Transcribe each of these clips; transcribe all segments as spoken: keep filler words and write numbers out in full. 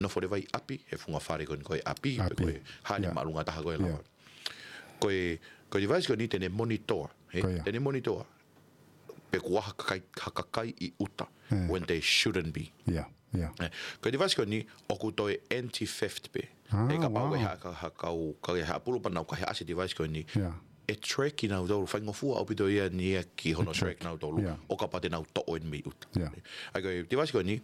nofo leva ʻi ʻapi, he funga fale ko eni ko e ʻapi, pe ko e hā ʻene māʻolunga taha ko ē lava. Ko e, ko e device ko eni te ne monitor, ē? Te ne monitor pe ko e hā ha kakai, ha kakai ʻi ʻuta, when they shouldn't be. Ē, ko e device ko eni ʻoku toe anti-theft pē. Ē, kapau ʻe ha, ha, ha kau, ka ʻe ha pulu panau, ka he ʻasi e device ko eni, ʻe track kinautolu, faingofua ʻaupito ia ʻeni ia ki hono track kinautolu, ʻo kapau te nau toʻo eni mei ʻuta. ʻA ia ko e device ko eni,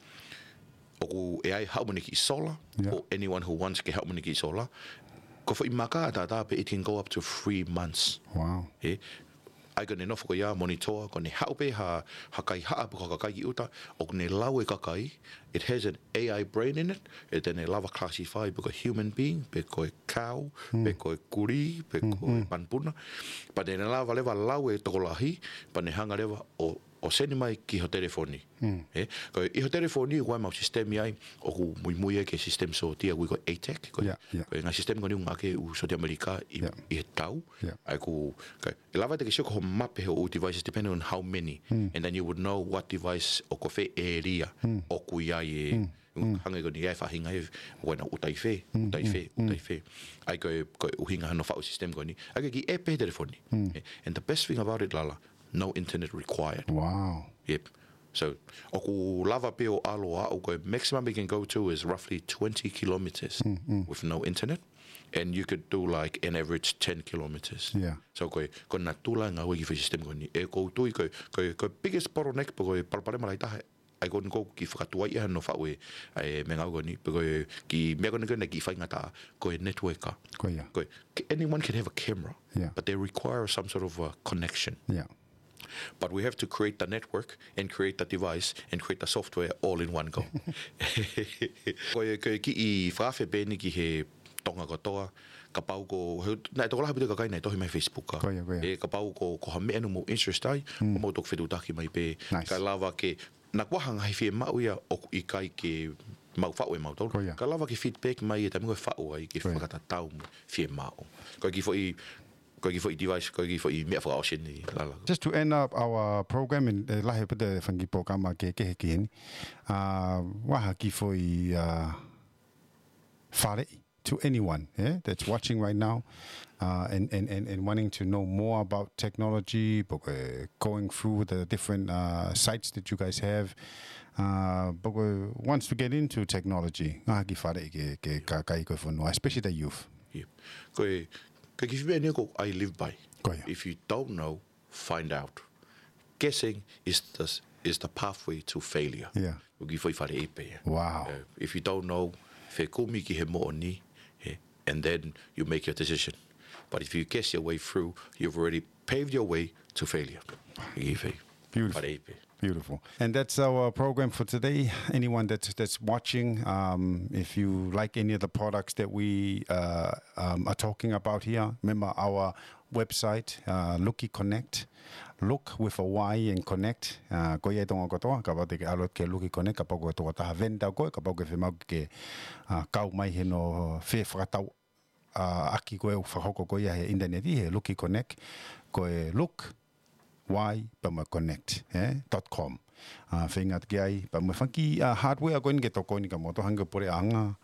ʻoku ʻi ai haʻu mo ʻene kiʻi sola, for anyone who wants ke haʻu mo ʻene kiʻi sola. Ko e foʻi maka ʻataʻatā pē, it can go up to three months. Ē, ʻa ia ko ʻene nofo ko ia monitor, ko ʻene haʻu pē ha, ha kaihaʻa pe ko ha kakai ki ʻuta, ʻoku ne lau e kakai, it has an A I brain in it, ʻe te ne lava classify pe ko e human being, pe ko e cow, pe ko e kulī, pe ko e panupuna. Pea te ne lava leva lau e tokolahi, pea ne hanga leva ʻo ʻo send mai ki ho telefoni. Ē, ko e ʻi ho telefoni, ʻoku ʻi ai ʻemau system ʻi ai, ʻoku muimui ia ki he system sōtia, ʻoku ui ko e ATAC, ko e, ko e ngaahi system ko eni ʻoku ngāueʻaki ʻe he ʻū sōtia ʻAmelika ʻi, ʻi he tau. ʻA ia ʻoku, ka, ʻe lava te ke sio ki hoʻo mape ʻo e devices, depending on how many. And then you would know what device ʻo ko fē area ʻoku ʻi ai e, hangē ko eni ʻa e faʻahinga ē, ʻoku ʻi ai ʻena ʻuta ʻi fē, ʻuta ʻi fē, ʻuta ʻi fē. ʻA ia ko e, ko e ʻuhinga hono faʻu system ko eni. ʻA ia ko e kiʻi app he telefoni. Ē, and the best thing about it, Lala, no internet required. Yep. So, ʻoku lava pē ʻo ʻalu ʻo aʻu, ko e maximum it can go to is roughly twenty kilometers with no internet. And you could do, like, an average ten kilometers. So, ko e, ko e natula e ngāue e kiʻi foʻi system ko eni. ʻE, ʻoku ou tui ko e, ko e, ko e biggest bottleneck pe ko e palopalema lahi taha, ʻa ia ko eni ʻoku ou kiʻi fakatuai ia hono faʻu e, e meʻangāue ko eni, pe ko e kiʻi meʻa ko eni ko eni kiʻi faingataʻa, ko e network. Ko e, anyone can have a camera, but they require some sort of a connection. But we have to create the network and create the device and create the software all in one go. Ko e, ko e kiʻi fakaafe pē ʻeni ki he Tonga kotoa, kapau ko, he, naʻe tokolahi ʻaupito e kakai naʻe tohi mai he Facebook. Ē, kapau ko, ko ha meʻa ʻoku mou interest ai, ʻoku mou toki fetuʻutaki mai pē, kae lava ke, naʻa kuo ʻi ai ha ngaahi fiemaʻu ia ʻoku ʻikai ke mau faʻu ʻe mautolu. Kae lava ke feedback mai e taimi ko ē ʻe faʻu ai ke fakatatau mo e fiemaʻu. Ko e kiʻi foʻi, ko e kiʻi foʻi device, ko e kiʻi foʻi meʻa fakaʻosi ʻeni, Lala. Just to end up our program, and, ʻe lahi pē e fanga kiʻi polokalama kehekehe ki heni. ʻA, ʻoku ʻi ai ha kiʻi foʻi, ʻa, faleʻi to anyone, eh, that's watching right now, uh, and, and, and, and wanting to know more about technology, pe ko e going through the different, uh, sites that you guys have, uh, pe ko e wants to get into technology, ʻoku ʻi ai ha kiʻi faleʻi ki he, ki he kakai ko ē ʻo e fonua, especially the youth. Ko e, ko e kiʻi foʻi meʻa ʻeni ʻoku I live by. If you don't know, find out. Guessing is the, is the pathway to failure. ʻOku kiʻi foʻi faleʻi pē ia. Uh, if you don't know, fekumi ki he moʻoni, eh, and then you make your decision. But if you guess your way through, you've already paved your way to failure. Kiʻi foʻi faleʻi pē. Beautiful. And that's our program for today. Anyone that's, that's watching, um, if you like any of the products that we, uh, um, are talking about here, remember our website, uh, Luki Connect. Look with a Y and connect. Uh, ko ia ʻi Tonga kotoa, kapau te ke ʻalu ki he Luki Connect, kapau ko e tokotaha vendor koe, kapau ʻoku ke fiemaʻu ke, uh, kau mai he ʻenau fefakatau, uh, ʻaki ko ē ʻoku fakahoko ko ia he internet ʻi he Luki Connect, ko e look, Y, pea mo e connect, eh, dot com. Uh, feinga atu ki ai, pea mo e fanga kiʻi, uh, hardware ko eni ke tokoni kia moutolu hangē ko e puleʻanga,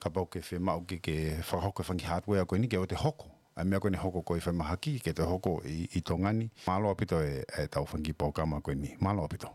kapau ʻoku ke fiemaʻu ke, ke fakahoko e fanga kiʻi hardware ko eni ke ʻoua te hoko. ʻA e meʻa ko eni ʻe hoko ko ē ʻi falemahaki, ke toe hoko ʻi, ʻi Tonga ni. Mālō ʻaupito e, ʻetau fanga kiʻi polokalama ko eni. Mālō ʻaupito.